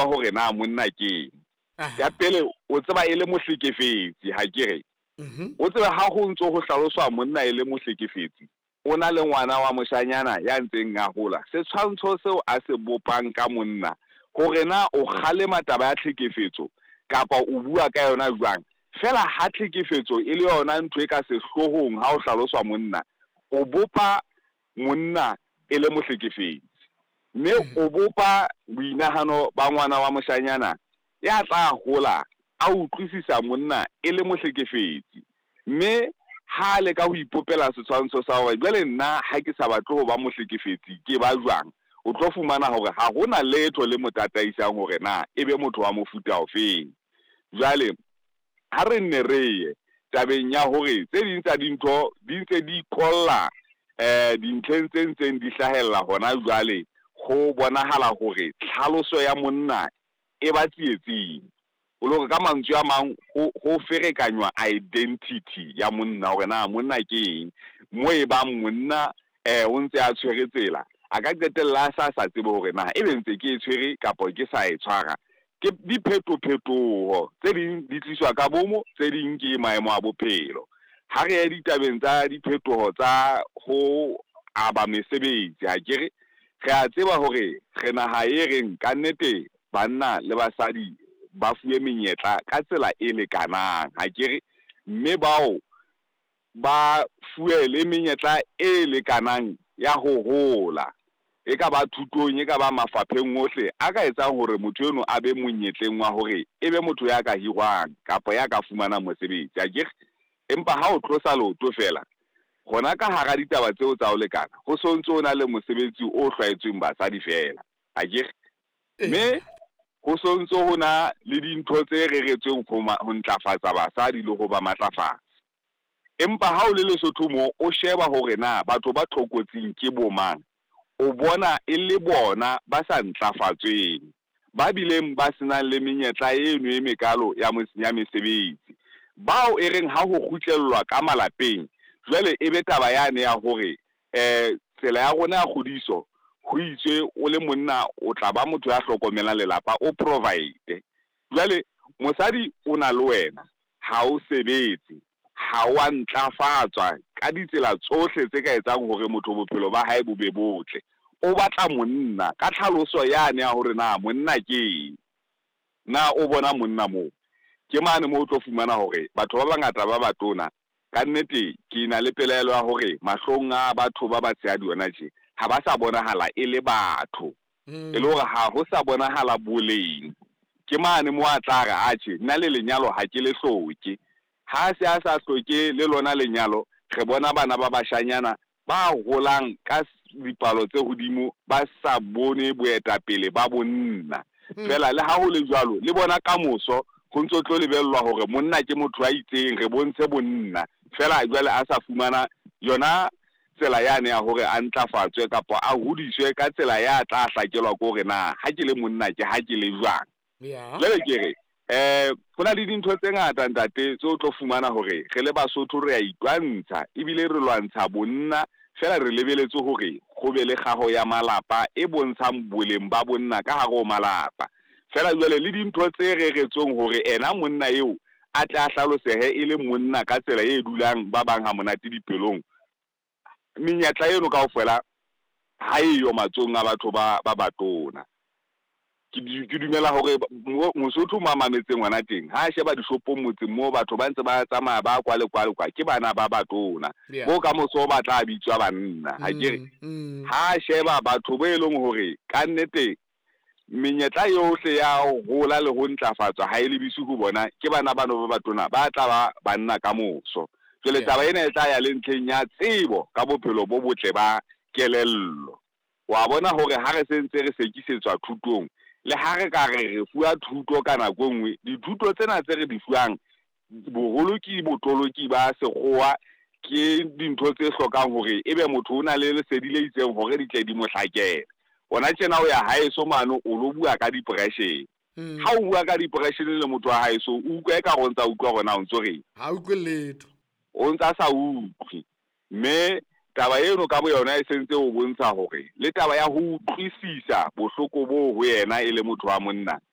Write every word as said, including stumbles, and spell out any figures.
Hore na monna ke eng. Ya pele, o tseba e le mohlekefetsi, ha ke re? O tsebe ha ho ntso ho hlaloswa monna e le mohlekefetsi, o na le ngwana wa moshanyana ya ntseng a hola. Setshwantsho seo a se bopang ka monna, hore na o kgalema taba ya tlhekefetso kapa o bua ka yona jwang, fela ha tlhekefetso e le yona ntho e ka sehloohong ha o hlaloswa monna, o bopa monna e le mohlekefetsi. Mme o bopa boinahano ba ngwana wa moshanyana ya tla hola a utlwisisa monna e le mohlekefetsi. Mme ha le ka ho ipopela setshwantsho sa hore jwale nna ha ke sa batle ho ba mohlekefetsi, ke ba jwang, o tlo fumana hore ha hona letho le mo tataisang hore na e be motho wa mofuta ofeng. Jwale ha re nne re ye tabeng ya hore tse ding tsa dintho di ntse di kolla eh dintlheng tse ntseng di hlahella hona jwale, ho bonahala hore tlhaloso ya monna e ba tsietsing. O le hore ka mantswe a mang ho ho ferekanywa identity ya monna, hore na monna ke eng. Mo e bang monna eh o ntse a tshwere tsela, a ka qetella a sa sa tsebe hore na ebe ntse ke e tshwere kapa ke sa e tshwara. Ke diphetophetoho tse ding di tliswa ka bomo, tse ding ke maemo a bophelo. Ha re ye ditabeng tsa diphetoho tsa ho aba mesebetsi, ha ke re re a tseba hore re naha e reng ka nnete banna le basadi ba fuwe menyetla ka tsela e lekanang, ha ke re, mme bao ba fuwe le menyetla e lekanang ya ho hola, e ka ba thutong, e ka ba mafapheng ohle a ka etsang hore motho eno a be monyetleng wa hore e be motho ya ka hirwang kapa ya ka fumanang mosebetsi, ha ke re. Empa ha o tlosa leoto fela hona ka hara ditaba tseo tsa ho lekana, ho so ntso o na le mosebetsi o hlwaetsweng basadi fela, ha ke re. Mme ho so ntso ho na le dintho tse reretsweng ho ho ntlafatsa basadi le ho ba matlafatsa. Empa ha o le Lesotho mo, o sheba hore na batho ba tlokotsing ke bo mang, o bona e le bona ba sa ntlafatsweng, ba bileng ba senang le menyetla eno e mekalo ya ya mesebetsi, bao e reng ha ho kgutlellwa ka malapeng, jwale e be taba yane ya hore eh tsela ya rona ya kgodiso, ho itswe o le monna o tla ba motho ya hlokomelang lelapa, o provide. Jwale mosadi o na le wena, ha o sebetse, ha wa ntlafatswa ka ditsela tsohle tse ka etsang hore motho bophelo ba hae bo be botle. O batla monna ka tlhaloso yane ya hore na monna ke eng, na o bona monna moo. Ke mane moo o tlo fumana hore batho ba bangata ba batona, ka nnete ke na le pelaelo ya hore mahlong a batho ba batshehadi hona tje ha ba sa bonahala e le batho, e le hore ha ho sa bonahala boleng. Ke mane mo a tla re atjhe nna le lenyalo ha ke le hloke. Ha se a sa hloke le lona lenyalo, re bona bana ba bashanyana ba holang ka dipalo tse hodimo ba sa bone boetapele ba bonna. Fela le ha ho le jwalo, le bona kamoso ho ntso tlo lebellwa hore monna ke motho a itseng, re bontshe bonna. Fela jwale a sa fumana yona tsela yane ya hore a ntlafatswe kapa a hodiswe ka tsela ya tla hlakelwa ke hore na ha ke le monna ke ha ke le jwang. Jwale ke re eh ho na le dintho tse ngata ntate tse o tlo fumana hore re le Basotho re a itwantsha ebile re lwantsha bonna, fela re lebeletse hore ho be le kgaho ya malapa e bontshang boleng ba bonna ka hare ho malapa. Fela jwale le dintho tse reretsweng hore ena monna eo a tle a hlalosehe e le monna ka tsela e dulang ba bang ha monate dipelong, menyetla eno kaofela ha eyo matsohong a batho ba ba batona. Ke dumela hore Mosotho mo a mametseng hona teng, ha a sheba dishopong motseng moo batho ba ntse ba tsamaya ba kwa le kwa le kwa, ke bana ba batona bo ka moso ba tla bitswa banna, ha ke re. Ha a sheba batho bo e leng hore ka nnete menyetla yohle ya ho hola le ho ntlafatswa ha e lebise ho bona, ke bana bano ba batona ba tla ba banna ka moso. Jwale taba ena e tla ya le ntlheng ya tsebo ka bophelo bo botle ba kelello. Wa bona hore ha re sentse re sekisetswa thutong, le ha re ka re re fuwa thuto ka nako e nngwe, dithuto tsena tse re di fuwang boholo ke botoloki ba sekgowa, ke dintho tse hlokang hore ebe motho o na le lesedi le itseng hore di tle di mo hlakele. Hona tjena o ya haeso mane o lo bua ka depression. Ha o bua ka depression le motho wa haeso, o utlwa eka o ntsa utlwa hore na o ntso reng. Ha utlwe letho. O ntsa sa utlwe. Mme taba eno ka boyona e sentse o bontsha hore le taba ya ho utlwisisa bohloko bo ho yena e le motho wa monna